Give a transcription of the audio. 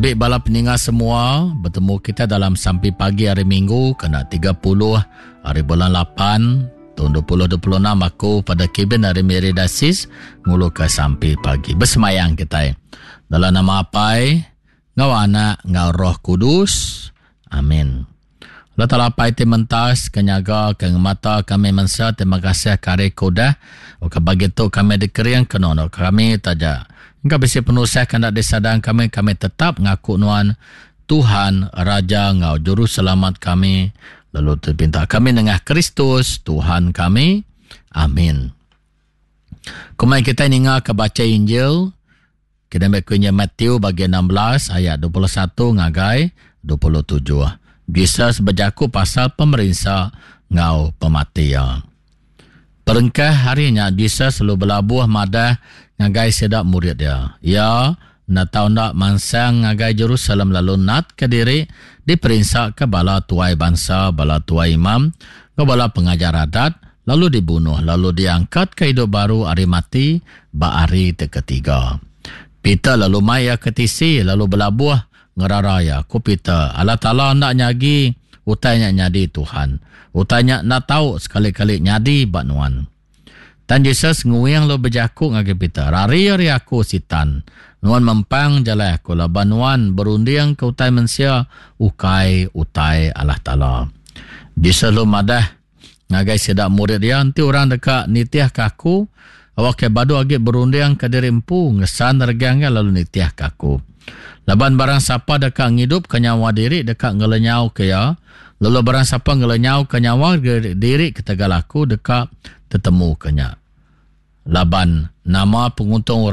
Tabi bala peninga semua, betemu kita dalam sampi pagi hari Minggu kena 30 hari bulan 8 tahun 2026 aku pada Kevin ari Miri Dasis nguluka sampi pagi. Besemayang kita. Dalam nama Apai, ngau Anak, ngau Roh Kudus. Amin. Allah Taala Apai ti mentas ke nyaga ke ngemata kami mensia terima kasih ke hari ke udah ke pagi tu kami dikering ke nuan kami taja engka bisi penusah ke enda disadang kami kami tetap ngaku nuan Tuhan Raja enggau Juruselamat kami lalu tu pinta kami nengah Kristus Tuhan kami amin. Kumai kitai ninga ke bacha Injil Kena meh ku inya Matthew bagi 16 ayat 21 ngagai 27. Jesus bejaku pasal pemerinsa enggau pemati iya. Perengkah hari nya Jesus lalu belabuh madah ngagai sida murid iya. Iya enda tau enda mansang ngagai Jerusalem lalu natka diri diperinsaka bala tuai bansa, bala tuai imam, enggau bala pengajar adat, lalu dibunuh lalu diangkatka idup baru ari mati ba hari ti ketiga. Peter lalu mai iya ke tisi lalu belabuh ngerara iya. Ku Peter, Allah Taala enda nyagi utai nya nyadi, Tuhan. Utai nya enda tau sekali-kali nyadi ba nuan. Tang Jesus nguing lalu bejaku ngagai Peter, Rari ari aku, Sitan! Nuan mempang jalai aku laban nuan berundingka utai mensia, ukai utai Allah Taala. Jesus lalu madah, Ngagai sida murid iya, enti orang deka nitihka aku, awakka badu agi berundingka diri empu, ngesan regang iya lalu nitihka aku. Laban barang sapa deka ngidupka nyawa diri deka ngelenyauka iya, lalu barang sapa ngelenyauka nyawa diri ketegal aku deka tetemuka nya. Laban nama penguntung orang?